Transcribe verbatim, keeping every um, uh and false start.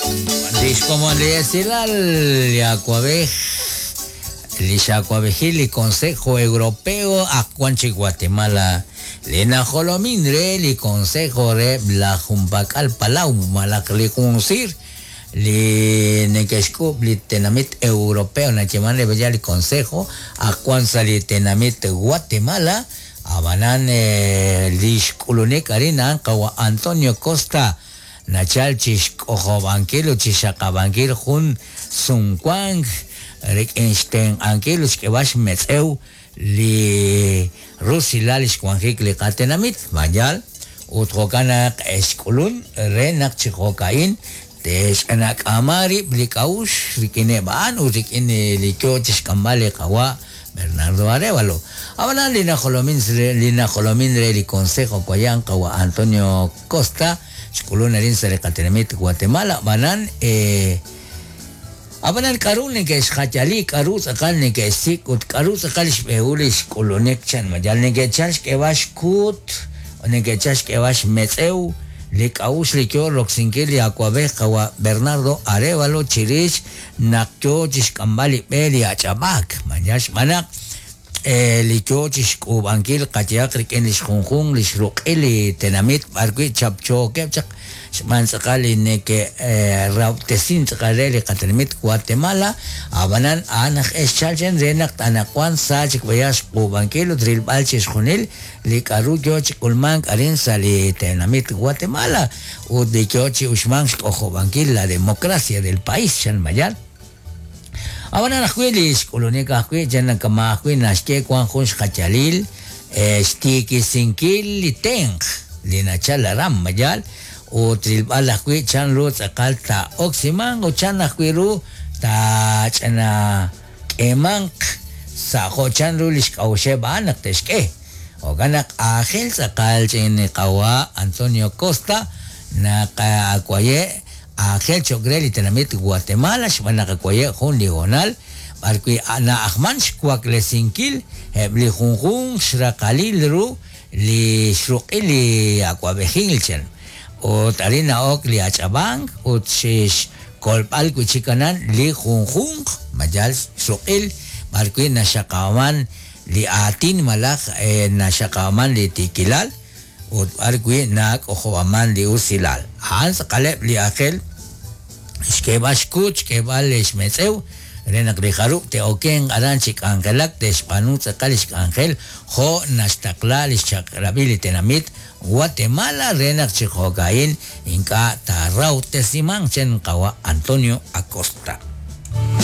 Lix komon li esilal li awab'ej li xawab'ejil li Consejo Europeo ak wan chi Guatemala li najolomin re li Consejo re la Jumpak'al Palau malaj li junsir li neke'xk'ub' li tenamit europeo nayeeman re li Consejo ak wan sa' li tenamit Guatemala abanan li xk'ulunik arin a'an qawa Antonio Costa nachal chi xk'ojob'ankil ut chi xaqab'ankil jun sumwank rik'in xtenq'ankil ut xk'eb'al xmetz'ew li rusilal li xwanjik li qatenamit mayal ut jo'kan naq xk'ulun re naq chi jo'ka'in tex'anak'ama rib' li k'a'uxl rik'ineb' a'an ut rik'in li yo chi xk'amb'al li qawa' Bernardo Arévalo. Abanan li najolomin li najolomin re li Consejo Kuayan qawa' Antonio Costa xk'ulun arin sa' li qatenamit Guatemala abanan eh, abanan k'aru neke'xjayali k'aru tz'aqal neke'xsik' ut k'aru tz'aqal xb'ehul li xk'ulunik chan mayal neke'chal xk'eb'al xkuut neke'chal xk'eb'al xmetz'ew li k'a'uxl li yo roksinkil li awab'ej qawa' Bernardo Arévalo chirix naq yo chi xk'amb'al li b'e li ach'ab'aak mayal xb'aan naq li yo chi xk'uub'ankil qayehaq rik'in li xjunjun li xruq'il li tenamit b'arwi' chapchookeb' chaq xb'aan tz'aqal li neke'rawtesin tz'aqal re li qatenamit Guatemala abanan a'an aj exchal chen re naq anaqwan sa chik b'ayaq xk'uub'ankil ut rilb'al chi xjunil li k'aru yo chi k'ulmank arin sa' li tenamit Guatemala ut li yo chi uxmank xk'ojob'ankil la democracia del país chan mayal. Abanan ajwi' li xk'ulunik ajwi' chan kama ajwi' naxye wan jun xjayalil xtiikisinkil li tenq li nachal aran mayal ut rilb'al ajwi' chan ru tz'aqal taa'oksimanq ut chan ajwi' ru taach'ana k'eemanq sa' jo' chan ru li xk'a'uxeb' a'an naq te'xk'e. Jo'kan naq aajel tz'aqal ch'in qawa' Antonio Costa naq akwaye' aajel cho'q re li tenamit Guatemala xb'aan naq akwaye' jun li hoonal b'arwi' na'ajman xwaklesinkil eb' li junjun xraqalil ru li xruq'il li awab'ejil chan ut arin na'ok li ach'ab'ank ut xkolb'al wi' chik anan li junjunq mayal xruq'il b'arwi' naxaqaman li aatin malaj naxaqaman li tiikilal ut b'arwi' nak'ojob'aman li usilal. A'an tz'aqaleb' li aajel xk'eeb'al xkuut xk'eeb'al xmetz'ew re naq li jarub' te'okenq aran chi k'anjelak te'xb'aanu tz'aqal li xk'anjel jo' naxtaqla li xchaq'rab'il li tenamit Guatemala re naq chi jo'ka'in ink'a' taarawtesimanq chen qawa' Antonio Acosta.